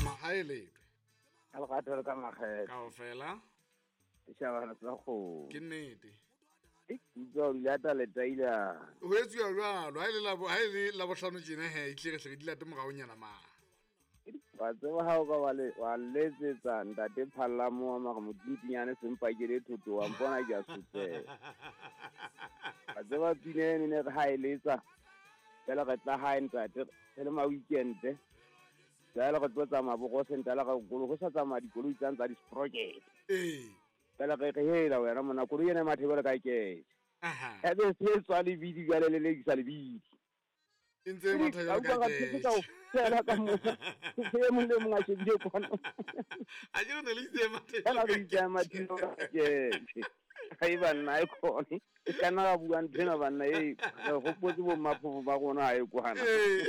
Ha e letwe. Ka lerato le ka makgethe. Kaofela. Setjhabana sa kgomo. Ke nnete. Ke utlwa o lata letaila. Ho etsuwa jwalo. Ha e le labo ha e le labohlano tjena he, e tle re hle re di late moraonyana ma. Wa tseba ha o ka wa le wa letsetsa ntate Phallamo wa mara modintinyane sempakele thoto wa mpona ke a sotleha. Wa tseba pina eno ne re ha e letsa fela re tla hae ntate re le ma weekend. Jwale re tlo tsamaya bo Rosenthala ka koloi go sa tsamaya dikoloi tsang tsa di-sprocket. Ee. Fela re re hela wena monna koloi ena e mathebele ka kete. Aha. Ebe se tswa lebidi jwale le lekisa lebidi. E ntse e matha jwalo ka Ka ketjhe. kaofela ka moo. E mong le mong a shebile kwana. A ke re ne le itse e matha Fela jwalo re ka itse ya mathile ka ketjhe. Hai banna ha e khone. E ka nna ra bua nthwena banna e re hopotse bo mmaphofo ba rona ha e kwana. Ee.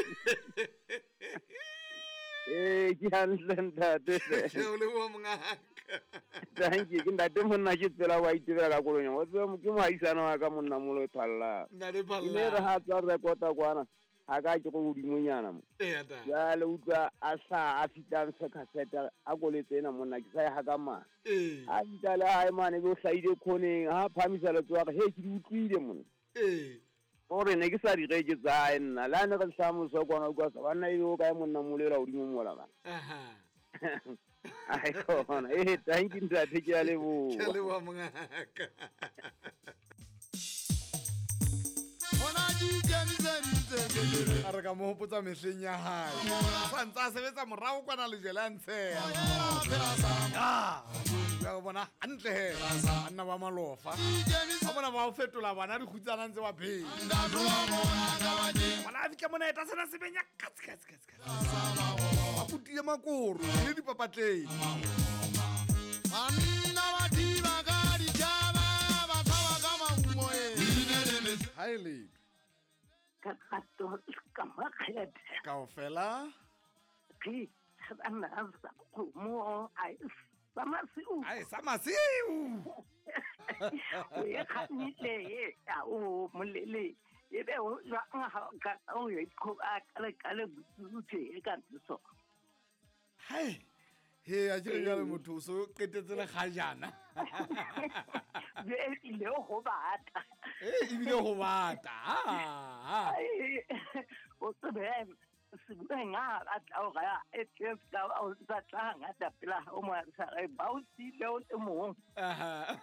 Ee, ke hantle ntate. Ke o leboha mongaka. Thank you. Ke ntate monna ke tsela wa itebela ka koloing. O tseba ke mohaisana wa ka monna molo e phallang. Ntate E ne re Phalla. ha tswa rekota kwana ha ka ke go hodimonyana mo. Ee, ata. Jwale utlwa a hlaha a fihla ntsha cassette a koletse ena monna ke sa e haka mane. Ee. Ha fihla le hae mane be o hlahile khoneng ha phamisa letsoho a re he ke di utlwile monna. Ee. Gore ne ke sa di reke tsa hae nna le ha ne re hlaha moso kwana utlwa sa banna ebe o kae monna molo ela hodimo mola bana. Aha. Ai khona. Eh thank you ntate ke a Ke a leboha. leboha mongaka. A re ka mo hopotsa mehleng ya hae. Sa ntse a sebetsa morao kwana lejwe le a ntsheha. Ah, o bona hantle he. Banna ba malofa. Ba bona ba o fetola bana dikgutsana ntse ba phela. Bona a fihla mona eta sena se benya katse katse katse katse. Ba putile makoro le dipapatleng. Ha e letho. Ka rato ka makgethe. Kaofela. Ke banna sa kgomo a e sa masiu. Ai sa masiu. O e kgannile a o molele. Ebe o jwang ha o ka o e qhoba ka le ka le botse e ka ntso. Hai. He a ke re jwale motho o so qetetse le kgajana. Be ile ho bata. Eh ebile ho bata. Ha. Ai, o tsebe sebueng a batla hore a etse ka o sa tla ngata pela o mo sa re ba o sile o le mong. Aha.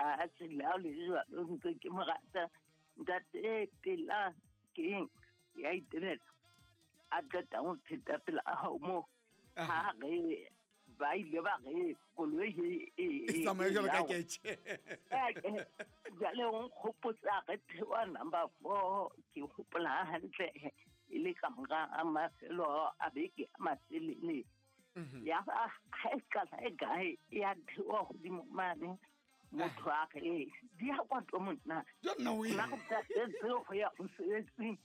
A tsela le jwalo ntse ke mo rata. Ntate pela ke ya itebela. A qeta ho pheta pela hao mo. Ha re ba ile ba re koloi e E tsamaya jwalo ka ketjhe. Jwale o nkgopotsa re theoha number 4 ke hopola hantle e le ka mora a mafelo a beke a matelele. Ya ba ha e qala e kae ya theoha hodimo mane motho a re di ya kwa tlo monna. Jo nna o Nna go tatetse go ya mosebetsing.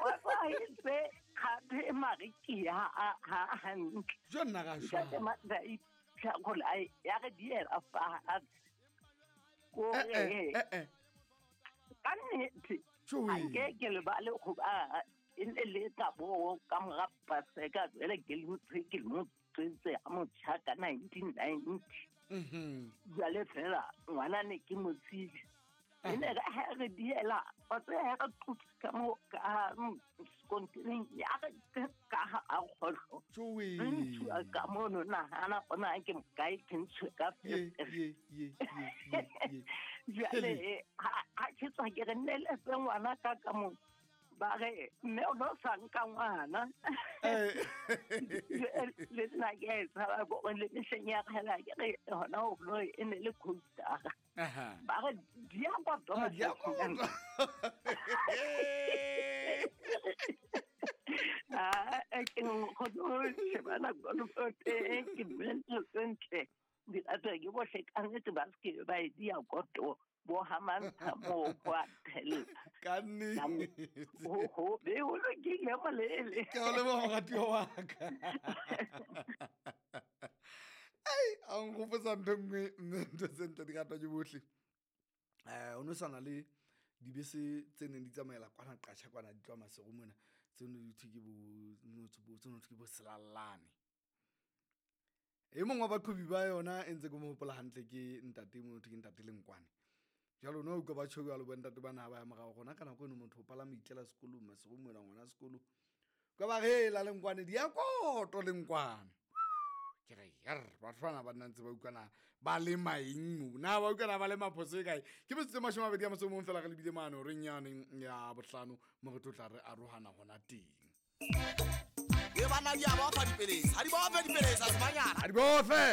Wa ba itse kgathe mare ke ya ha hantle. Jo nna ka shwa. Ntate Matla tlhakola ya re diela fatshe. Ko Eh, eh, re eh, eh. ka nnete Tjoe. ha nke ke lebale hoba e ne le ka bo ka mora Paseka jwale ke le motho ke le motswetse a motjha ka 1990. Jwale fela ngwana ne ke mo tsile. E ne re ha re diela, wa tseba ha re qotsa ka mo ka sekontiring ya re ka ha a kgohlo. Tjoe. Re ntshuwa ka mono nahana hona ke mokae ke ntshuwe ka Ye, fetere. ye, ye, ye, ye, ye. Jwale, ha ke tswa ke re nneletse ngwana ka ka mo. Ba re, mme o no sa nka ngwana. Eh. Le nna ke a e tshaba ko le mehleng ya kgale ke re hona ho no e ne le coaster. Aha. Ba re, di ya kwa Ah, di ya kwa Thomas. Ah, ke kgone ho shebana kolofo teng, ke bue ntho tse ntle. Di ratwa ke bohle ka nnete ba se ke ba e di ya koto. Bo hamantsha moo ho a thella. Ka nnete. Ho, ho, be ho lokile molele. Ke a leboha moratuwa wa ka. Ai, a nkgopotsa ntho e nngwe, mme ntho tse ntle di ratwa ke bohle. O no sana le dibese tse neng di tsamaela kwana Qasha kwana di tloha Maseru mona. Tseno di thwe ke bo tseno thwe ke bo selallane. E mongwe wa baqhobi ba yona e ntse ke mo hopola hantle ke ntate mo thwe ke ntate Lenkwane. Jwale no utlwa ba tjho jwalo bo ntate bana ha ba ya morao rona ka nako eno motho o palama itlela sekolong masigo moela ngwana sekolo. Ka ba re la Lenkwane di ya koto Lenkwane. Ke re yerr batho bana ba nna ntse ba utlwana ba lema eng mo na ba utlwana ba lema phoso e kae. Ke metsotso e 21 fela re lebile mane horeng yane ya bohlano mo re tlo tla re arohana hona teng. E bana di a ba fa dipelesa, ha di ba fe dipelesa sebanyana. Ha di bofe.